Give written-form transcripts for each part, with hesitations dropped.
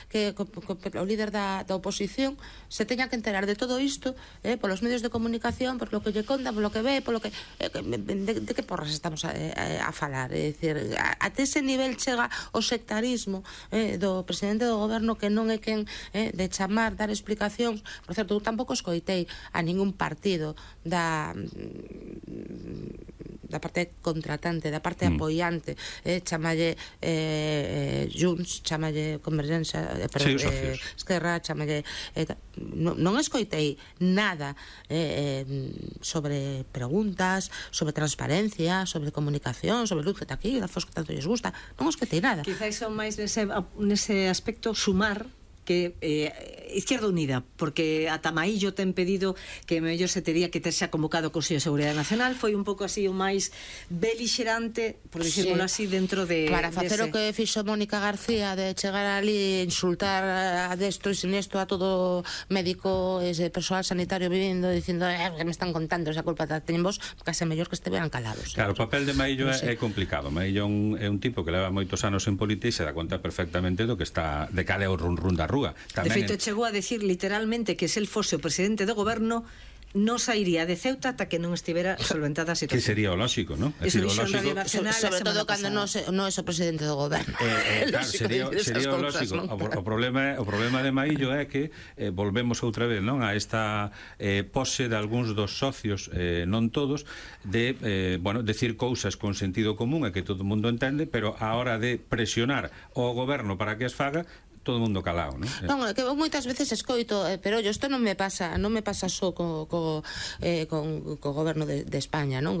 que o líder da oposición se teña que enterar de todo isto polos medios de comunicación, por lo que lle conta, por lo que ve, por lo que de que porras estamos a falar. É dicir, até ese nivel chega o sectarismo do presidente do goberno, que non é quen de chamar, dar explicacións. Por certo, eu tampouco escoitei a ningún partido da parte contratante, da parte apoiante, chamalle Junts, chamalle Convergencia, Esquerra, chamalle non escoitei nada sobre preguntas, sobre transparencia, sobre comunicación, sobre luz de taquígrafos, que tanto lles gusta. Non escoitei nada. Quizás son máis nese aspecto sumar que Izquierda Unida, porque ata Maillo ten pedido que mellor se tería que ter xa convocado o Consello de Seguridade Nacional. Foi un pouco así o máis belixerante, por dicirlo así, dentro de... Para facer o que fixo Mónica García, de chegar ali, insultar a destro e siniestro a todo médico e persoal sanitario vivindo, dicindo que me están contando, esa culpa la teñen vos, case mellor que esteveran calados. Claro, o papel de Maillo é complicado. Maillo é un tipo que leva moitos anos en política e se dá conta perfectamente do que está, de cal é o run da rúa. De feito, chegou a decir literalmente que se el fose o presidente do goberno non sairía de Ceuta ata que non estivera solventada a situación. Que sería o lógico, non? Sobre todo cando non é o presidente do goberno. Claro, sería o lógico. O problema de Maillo é que volvemos outra vez, non, a esta pose de algúns dos socios, non todos, de, decir cousas con sentido común e que todo o mundo entende, pero a hora de presionar o goberno para que as faga, todo o mundo calado, non? Non, que moitas veces escoito, pero isto non me pasa só co goberno de España, non?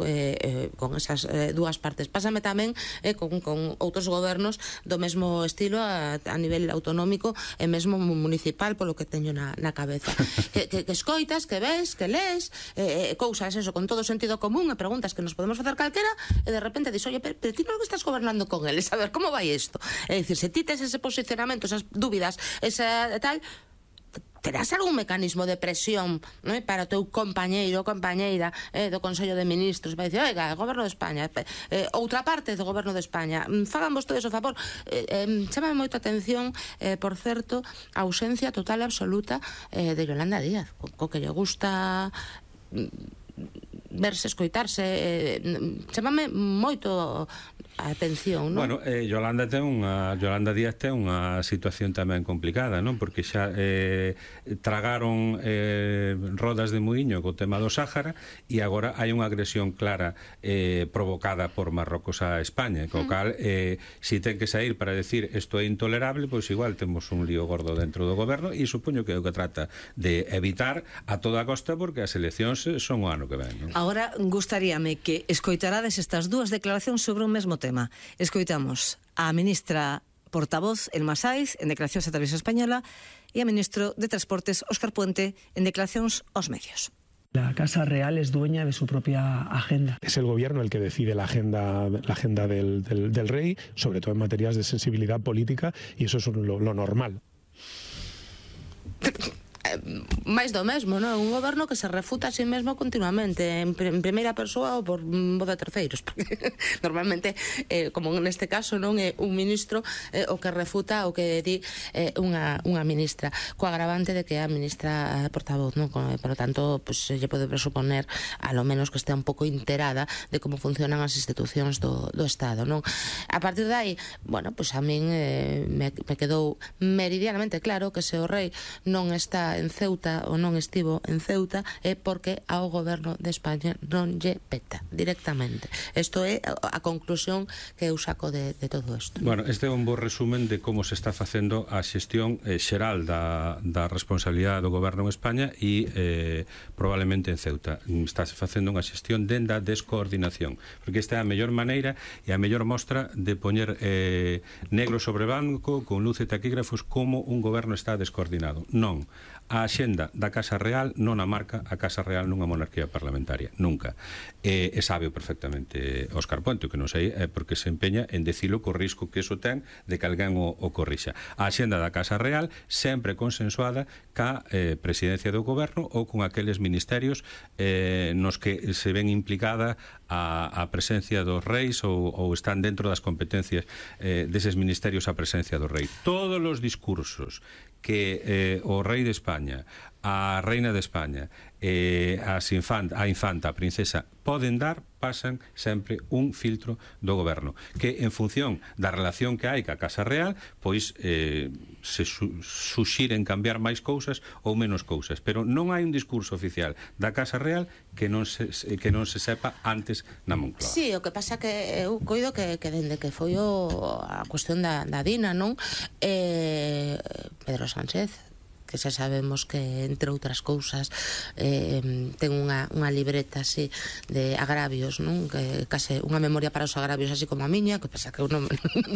Con esas dúas partes. Pásame tamén con outros gobernos do mesmo estilo a nivel autonómico e mesmo municipal, polo que teño na cabeza. que escoitas, que ves, que lees, cousas eso, con todo sentido común, e preguntas que nos podemos facer calquera, e de repente dis, oye, pero ti non estás gobernando con eles, a ver, como vai isto? É dicir, se ti tes ese posicionamento, esas dúbidas, esa tal, terás algún mecanismo de presión, non? Para o teu compañeiro ou compañeira do Consello de Ministros, para dicir, oiga, o Goberno de España, outra parte do Goberno de España, fagan vostedes o favor. Chámame moito a atención, por certo, a ausencia total e absoluta de Yolanda Díaz, co que lle gusta verse, escoitarse, chámame moito a atención, non? Bueno, Yolanda Díaz ten unha situación tamén complicada, non? Porque xa tragaron rodas de muiño co tema do Sáhara e agora hai unha agresión clara provocada por Marrocos a España, co cal si ten que sair para decir isto é intolerable, pois igual temos un lío gordo dentro do goberno, e supoño que é o que trata de evitar a toda costa, porque as eleccións son o ano que ven, non? Agora gustaríame que escoitarades estas dúas declaracións sobre un mesmo tema. Escoitamos a ministra portavoz Elma Saiz en declaracións a Televisión Española e a ministro de Transportes Óscar Puente en declaracións aos medios. La Casa Real es dueña de su propia agenda. Es el gobierno el que decide la agenda del rey, sobre todo en materias de sensibilidad política, y eso es lo normal. máis do mesmo, non? Un goberno que se refuta a sí mesmo continuamente, en primeira persoa ou por voz de terceiros, porque normalmente, como neste caso, non é un ministro o que refuta o que di unha ministra, co agravante de que é a ministra portavoz, non? Por lo tanto, pues, lle pode presuponer a lo menos que estea un pouco enterada de como funcionan as institucións do Estado, non? A partir de aí, bueno, pues a min me quedou meridianamente claro que se o rei non está en Ceuta ou non estivo en Ceuta é porque ao goberno de España non lle peta directamente. Isto é a conclusión que eu saco de todo isto. Bueno, este é un bo resumen de como se está facendo a xestión xeral da responsabilidade do goberno en España e probablemente en Ceuta. Estáse facendo unha xestión dende a descoordinación, porque esta é a mellor maneira e a mellor mostra de poñer negro sobre branco con luz e taquígrafos como un goberno está descoordinado. Non. A axenda da Casa Real non a marca a Casa Real nunha monarquía parlamentaria, nunca. E sabe perfectamente Óscar Puente, que non sei é porque se empeña en decilo co risco que eso ten de que alguén o corrixa. A axenda da Casa Real sempre consensuada ca presidencia do goberno ou con aqueles ministerios nos que se ven implicada a presencia dos reis ou están dentro das competencias deses ministerios a presencia do rei. Todos os discursos que o rei de España, a reina de España, a infanta, a princesa poden dar, pasan sempre un filtro do goberno, que en función da relación que hai ca Casa Real, pois se suxiren cambiar máis cousas ou menos cousas, pero non hai un discurso oficial da Casa Real que non se sepa antes na Moncloa. Sí, o que pasa que eu coido que dende que foi a cuestión da Dina, non? Pedro Sánchez, que xa sabemos que, entre outras cousas, ten unha libreta así de agravios, non? Que case unha memoria para os agravios así como a miña, que pasa que eu non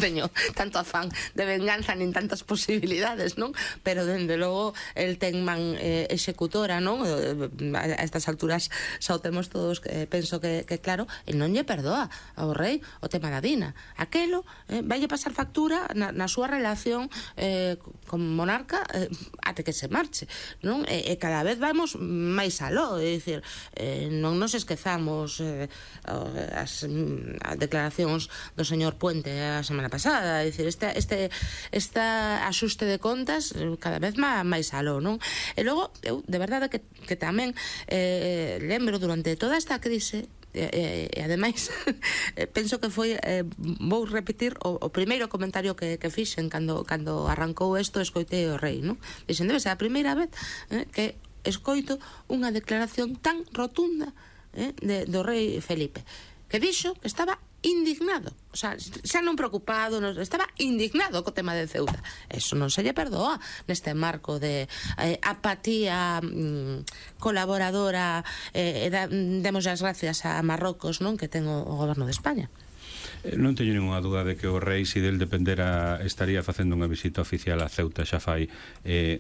teño tanto afán de venganza nin tantas posibilidades, non? Pero, dende logo, el ten man executora, non? A estas alturas xa o temos todos, penso que claro, e non lle perdoa ao rei o tema da Dina. Aquelo vaille pasar factura na súa relación con monarca ate que se marche, non? E cada vez vamos máis aló, é dicir, non nos esquezamos as declaracións do señor Puente a semana pasada, é dicir, este axuste de contas cada vez máis aló, non? E logo, eu de verdade que tamén lembro durante toda esta crise, e ademais penso que foi, vou repetir o primeiro comentario que fixen cando arrancou isto, escoitei o rei, non? Dixen, debe ser a primeira vez que escoito unha declaración tan rotunda do rei Felipe, que dixo que estaba indignado, o sea, xa non preocupado, estaba indignado co tema de Ceuta. Eso non se lle perdoa neste marco de apatía colaboradora, demos as gracias a Marrocos, non, que ten o goberno de España. Non teño ninguna dúda de que o rei, se del dependera, estaría facendo unha visita oficial a Ceuta xa fai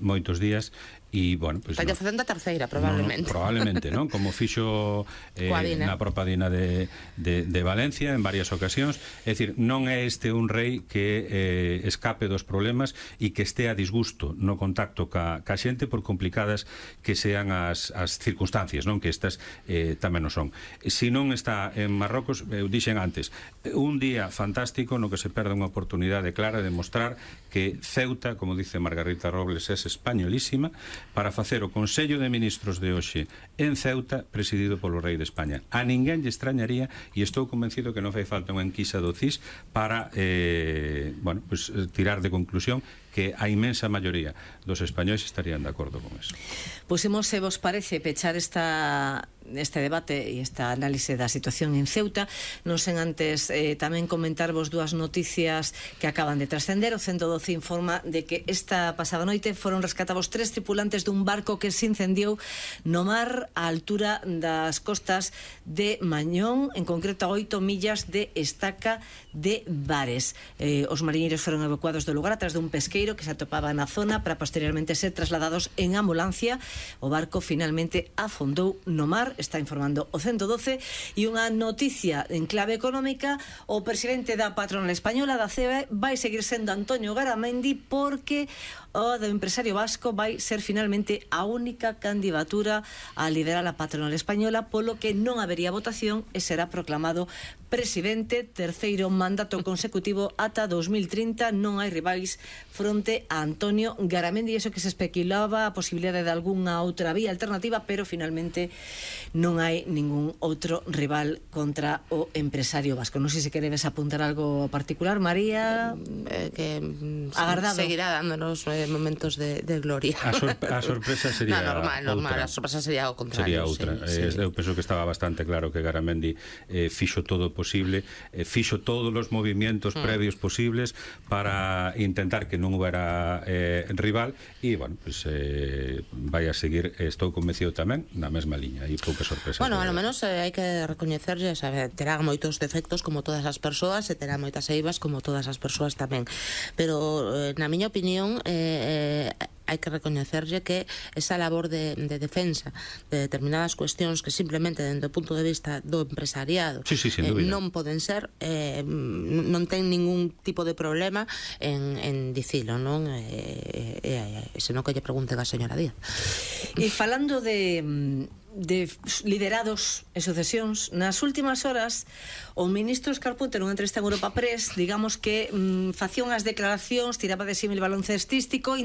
moitos días. E, bueno, pues estaría facendo a terceira, probablemente. Probablemente, non? Como fixo na propia Dina de Valencia en varias ocasións. É dicir, non é este un rei que escape dos problemas e que este a disgusto no contacto ca xente, por complicadas que sean as circunstancias, non? Que estas tamén non son. Se non está en Marrocos, eu dixen antes, un día fantástico no que se perde unha oportunidade clara de mostrar que Ceuta, como dice Margarita Robles, é españolísima, para facer o Consello de Ministros de hoxe en Ceuta, presidido polo rei de España. A ninguén lle extrañaría, e estou convencido que non fai falta unha enquisa do CIS para tirar de conclusión que a inmensa maioría dos españois estarían de acordo con eso. Pois imos, se vos parece, pechar este debate e esta análise da situación en Ceuta, non sen antes tamén comentarvos dúas noticias que acaban de trascender. O 112 informa de que esta pasada noite foron rescatados 3 tripulantes dun barco que se incendiou no mar á altura das costas de Mañón, en concreto a 8 millas de Estaca de Bares. Os mariñeiros foron evacuados do lugar a través dun pesqueiro que se atopaba na zona para posteriormente ser trasladados en ambulancia. O barco finalmente afondou no mar, está informando o 112. E unha noticia en clave económica: o presidente da patronal española, da CEE, vai seguir sendo Antonio Garamendi, porque o do empresario vasco vai ser finalmente a única candidatura a liderar a patronal española, polo que non habería votación e será proclamado presidente, terceiro mandato consecutivo ata 2030. Non hai rivais fronte a Antonio Garamendi, eso que se especulaba a posibilidade de algunha outra vía alternativa, pero finalmente non hai ningún outro rival contra o empresario vasco. Non sei se queredes apuntar algo particular, María. Que agardado seguirá dándonos momentos de gloria. A sorpresa sería normal, a sorpresa sería o contrario. Sería outra. Sí. Eu penso que estaba bastante claro que Garamendi fixo todo posible, fixo todos os movimentos previos posibles para intentar que non houbera rival, e, bueno, pues vai a seguir, estou convencido tamén, na mesma liña, e pouca sorpresa. Bueno, a lo menos hai que recoñecerlle, terá moitos defectos como todas as persoas, e terá moitas eivas como todas as persoas tamén, pero na miña opinión hai que recoñecerlle que esa labor de defensa de determinadas cuestións que simplemente dentro do punto de vista do empresariado non poden ser, non ten ningún tipo de problema en dicilo, non? Senón que lle pregunten a señora Díaz. E falando de liderados e sucesións, nas últimas horas o ministro Óscar Puente nunha entrevista en Europa Press, digamos que facía unhas declaracións, tiraba de símil baloncestístico,